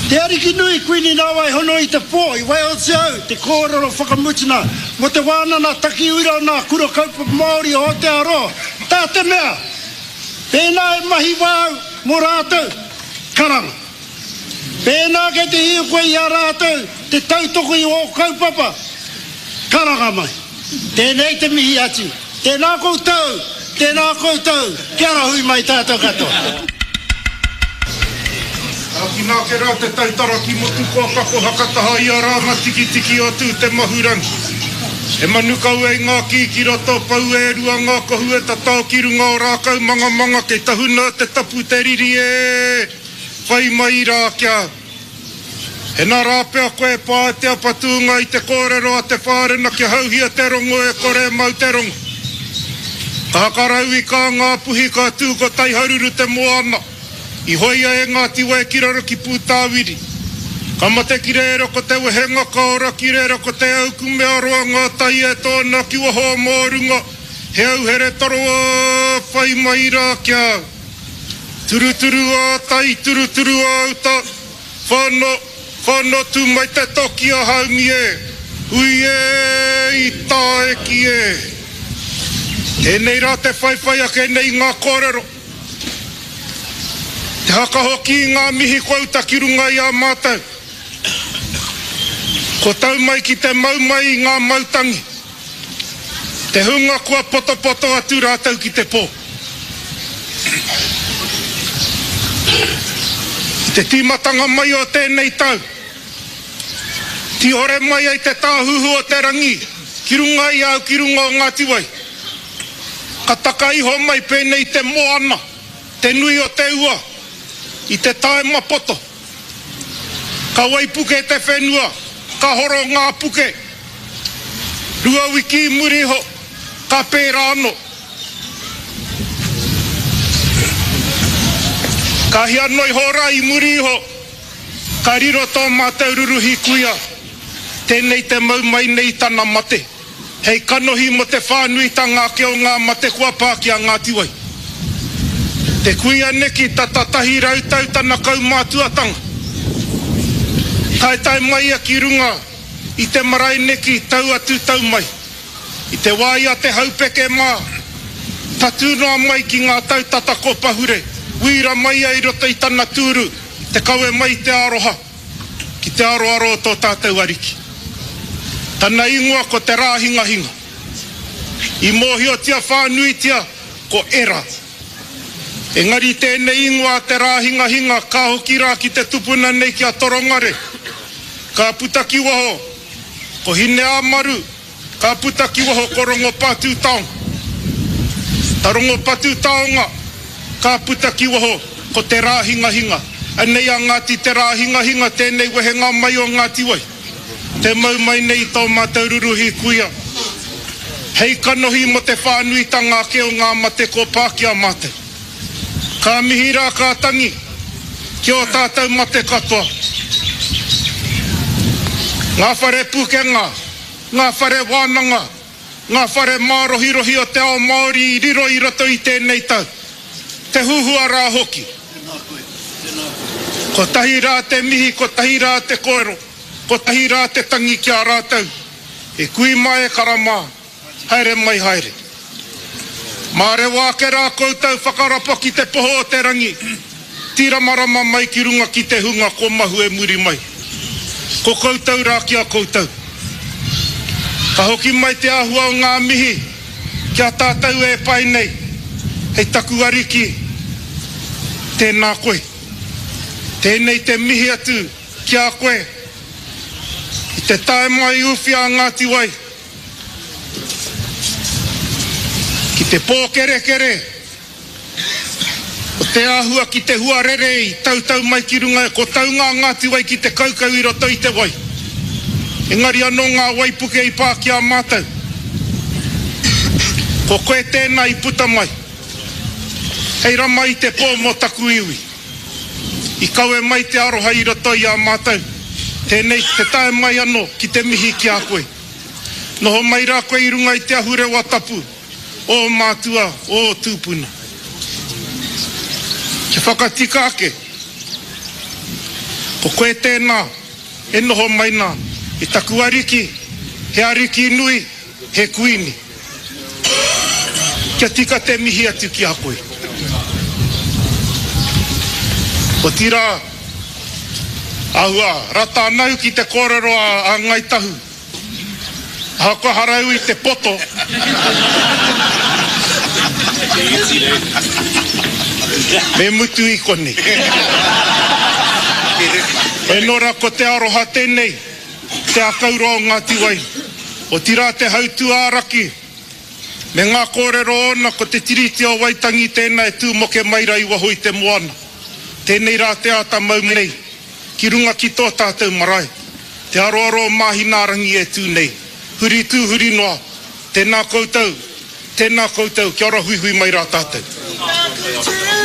Te Ariki nui Kuini Nāwai Hono i te pō i waihotia au te kōrero whakamutuna mō te wānana takiura o nā kura kaupapa Māori o Aotearoa tā te mea pēnā e mahi wā au mō rātou, karanga. Pēnā kei te hia koe i a rātou te tautoko i ō kaupapa, karanga mai. Tēnei te mihi atu. Tēnā koutou, tēnā koutou, kia rahui mai tātou katoa. Ākina ake rā te taitara ki Motukoa ka koha taha i a Rānga Tikitiki o Tū te Mahurangi. He manu kau e ngā kī ki roto, pau e rua ngā kohu e tatao ki runga o rākau mangamanga kei tahuna te tapu te riri e whai mai rā kia Hena rā pea koe e pā e te apatūnga i te kōrero a te whārena kia hauhia te rongo e kore e mau te rongo. Ka hakarau i kā ngā puhi ka tū ko Taiharuru te moana. I hoia e Ngāti Wai ki raro ki Pūtāwiri. Ka mate ki reira ko te wehenga ka ora ki reira ko te aukumea roa ngā tai e tōna ki waho o Mōrunga he auhere toroa whai mai rā kia turuturu ā tai turuturu ā uta whano whano tū mai te toki a Haumi e hui e i tāeki e Tēnei rā te whaiwhai ake nei i ngā kōrero. Te haka hoki i ngā mihi kua uta ki runga i a mātou. Kua tau mai ki te mau mai i ngā mautangi, te hunga kua potopoto atu rātou ki te pō. I te tīmatanga mai o tēnei tau, tīhore mai ai te tāhuhu o te rangi ki runga i a au ki runga o Ngāti Wai. Ka taka iho mai pēnei i te moana, te nui o te ua, i te taema poto. Ka waipuke te whenua, ka horo ngā puke. Rua wiki i muri iho, ka pērā anō. Ka hia noa iho rā i muri iho, ka riro tō mātou ruruhi kuia, tēnei te mau mai nei i tana mate. Hei kanohi mō te whānuitanga ake o ngā mate kua pā ki a Ngāti Wai. Te kuia neki tata 100 tau tana kaumātuatanga. Taetae mai ia ki runga i te marae neki tau atu tau mai. I te wā i a Te Haupeke mā, tatū noa mai ki ngā tau tata ko pahure, wīra mai ia i roto i tana tūru, te kawe mai i te aroha. Ki te aroaro o tō tātou Ariki. Tana ingoa ko Te Rāhingahinga. I mōhiotia whānuitia ko Era. Engari tēnei ingoa a Te Rāhingahinga ka hoki rā ki te tupuna nei ki a Torongare. Ka puta ki waho ko Hineāmaru. Ka puta ki waho ko Rongopatūtaonga. Ta Rongopatūtaonga, ka puta ki waho ko Te Rāhingahinga. Anei a Ngāti Te Rāhingahinga tēnei wehenga mai o Ngāti Wai. Te mau mai nei i tō mātou ruruhi kuia. Hei kanohi mō te whānuitanga ake o ngā mate kua pā ki a mātou. Ka mihi rā ka tangi ki ō tātou mate katoa. Ngā whare pukenga. Ngā whare wānanga, ngā whare mārohirohi o te ao Māori i riro i roto i tēnei tau. Te huhua rā hoki. Kotahi rā te mihi, kotahi rā te kōrero, kotahi rā te tangi ki a rātou. E kui mā e kara mā. Haere mai haere. Mārewa ake rā koutou whakarapa ki te poho o te rangi, tīramarama mai ki runga ki te hunga ko mahue muri mai. Ko koutou rā ki a koutou. Ka hoki mai te āhua o ngā mihi ki a tātou e pae nei, hei taku ariki, tēnā koe. Tēnei te mihi atu ki a koe i te tae mai uwhia a Ngāti Wai. Ki te pōkerekere o te āhua ki te huarere i tautau mai ki runga, ko taunga a Ngāti Wai ki te kaukau i roto i te wai. Engari anō ngā waipuke i pā ki a mātou. Ko koe tēnā i puta mai hei rama i te pō mō taku iwi. I kawe mai te aroha i roto i a mātou. Tēnei te tae mai anō ki te mihi ki a koe. Noho mai rā koe i runga i te ahurewa tapu o ō mātua, o ō tūpuna. Kia whakatika ake. Ko koe tēnā e noho mai nā i taku ariki, he ariki nui, he kuini. Kia tika te mihi atu ki a koe. Otirā, āhua rata ana au ki te kōrero a Ngāi Tahu. Ahakoa harau i te poto. Me mutu i konei. E nora ko te aroha tenei, te akauroa o Ngati Wai, otira te hautū-ā-raki, me ngā kōrero ōna ko te Tiriti o Waitangi tēnā e tū moke mai ra i waho i te moana. Tēnei rā te āta mau nei. Ki runga ki tō tātou marae, te aroaro o Māhinaarangi e tū nei. Huri tū huri noa, tēnā koutou, tēnā koutou, kia ora huihui mai rā tātou.